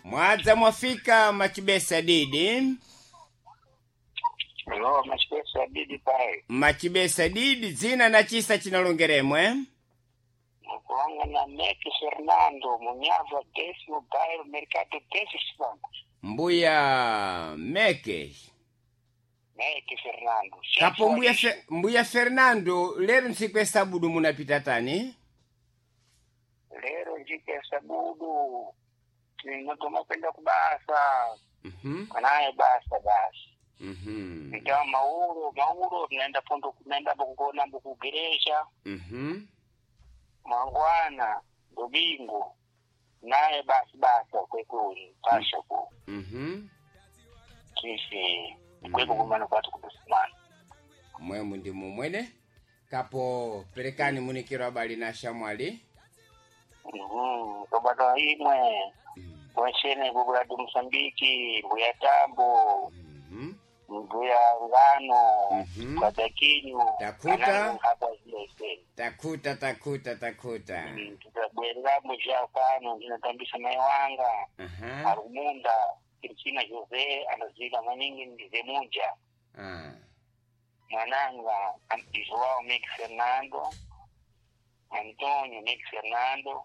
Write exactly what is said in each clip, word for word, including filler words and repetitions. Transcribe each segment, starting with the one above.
Mwadza mwafika machibesa didi. Lo, machibesa didi pai. Machibesa didi dzina na chisa chinalongeremwe. Mukulonga na Meki Fernando, Munhava, décimo bairro, Mercado Décimo Mbuya Meke. Meki Fernando. Kapo mbuya, Fe, mbuya Fernando lero ntsiku ya sabudu munapita tani? Lero njiku ya sabudu. Tinatoma kwenda kubasa. Mhm. Kanaye basa basi. Mhm. Então mauro, mauro tunaenda pondo tunaenda kukona kugeresha. Mhm. Mangwana, Domingo. Naye basi basa kwekuli, pasha ku. Mhm. Sisi kweko kumana kwatu kusimana. Mwemu ndi mumwene. Kapo perekani munikiro abali na shamwali. Mhm, kabata imwe. Kweshene bubula du Mosambiki, mbuya Tambo, Mhm. mbuya Ngano, Mhm. Kadakinyu, Takuta. anangu hapa zile Takuta takuta takuta. Tutabwerera muzha pano ndinotambisa mai wanga Aha. Arumunda Cristina Jose anozika maningi ndizemuja Ah. mwananga Am- Joao Mike Fernando Antonio Mike Fernando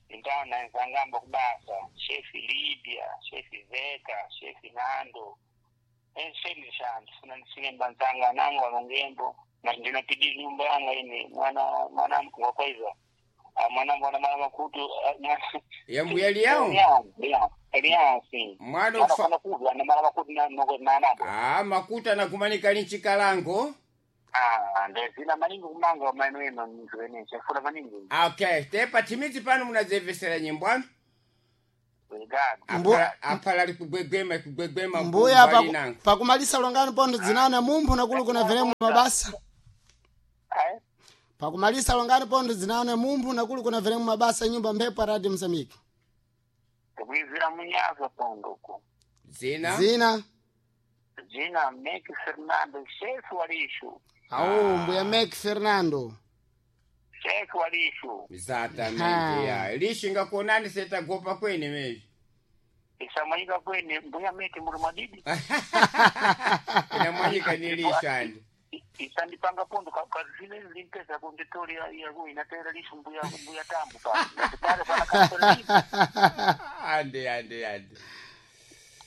então nanzangamba kubasa chefe Líbia chefe Zeca chefe Nando enseni shantu funa ndisilemba nzanga nangu alongembo na ndinapidi nyumba yanga ine mwana mwana wakwaiza Ah, mwanangu ana mala makutu ah, mwana- Ya mbuya liyao? Eliasi Mwana mwana ufa. fana kuva na mala makutu na na na Ah, makuta nakumanika linchikalango. Ah, ndezina maningi kumanga maeno eno nzwene chafuna maningi. Okay, tepa timidzi pano munadzemvesera nyimbo anu. Obrigado. Mbu- Apala apala likugwegwema ikugwegwema Mbuya kumbali paku, nango. pakumalisa longani pondo dzinane mumphu nakulu kuna veremu mabasa. Ai, Pakumalisa longani pondo dzinane mumphu nakulu kuna veremu mabasa nyumba mphepo ya Radio Mozambique. kuizira munyaza pondoku. Dzina? Zina Zina Meki Fernando, chefe walishu. au mbuya Mek Fernando. Chefe walishu. Exatamente. Ya. Lishinga kuonani setagopa kwene mezvi. Isamanyika kwene mbuya meki muri madidi. Inamwanyika ni lisho andi. Isandipanga pondo kazile limpesa kunditori ya ya inatera lishu mbuya mbuya tambu pa. Pale pana kapela. Andi andi andi.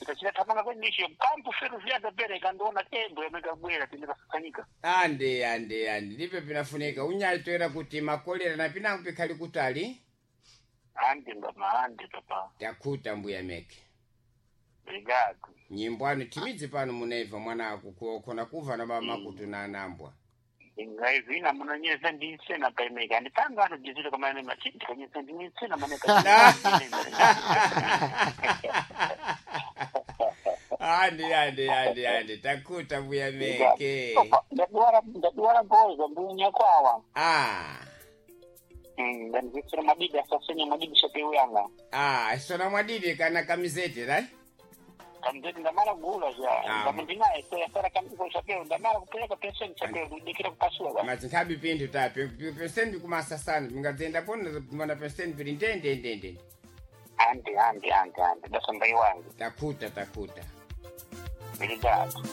Ikachira tamanga kwene lishu kampu feru vyada bere kandiona tembo yamekabwera tindikasanyika. Andi andi andi. Ndipe pinafunika unyalitwera kuti makolera na pinango pikhali kutali. Andi ngama andi papa. Takuta mbuya meke. Obrigado. Nyimbo anu timidzi pano munaiva mwana ako kuona kuva na baba makutu na anambwa. Ngaizina munonyeza ndinsena paimeka ndipanga anodizira kamaene machiti kanyeza ndinsena maneka Andi andi andi andi. Takuta mbuya meke. ndaduwara ndaduwara mboza mbunya kwawa Ah. ndandizitsira madidi asasenya madidi shapeuyanga Ah, sona mwadidi kana kamizete right? kamzeti ndamala kugula Ah. zha ngame ndinaye sera kamiko chapeo ndamala kupereka pension chapeo kudikira kupasula ba Mazinkhabi pinthu tapi penseni kumasasana mingadzenda pona kumana penseni pili ndende ndende. andi andi andi andi dasamba iwangu Takuta takuta. obrigado.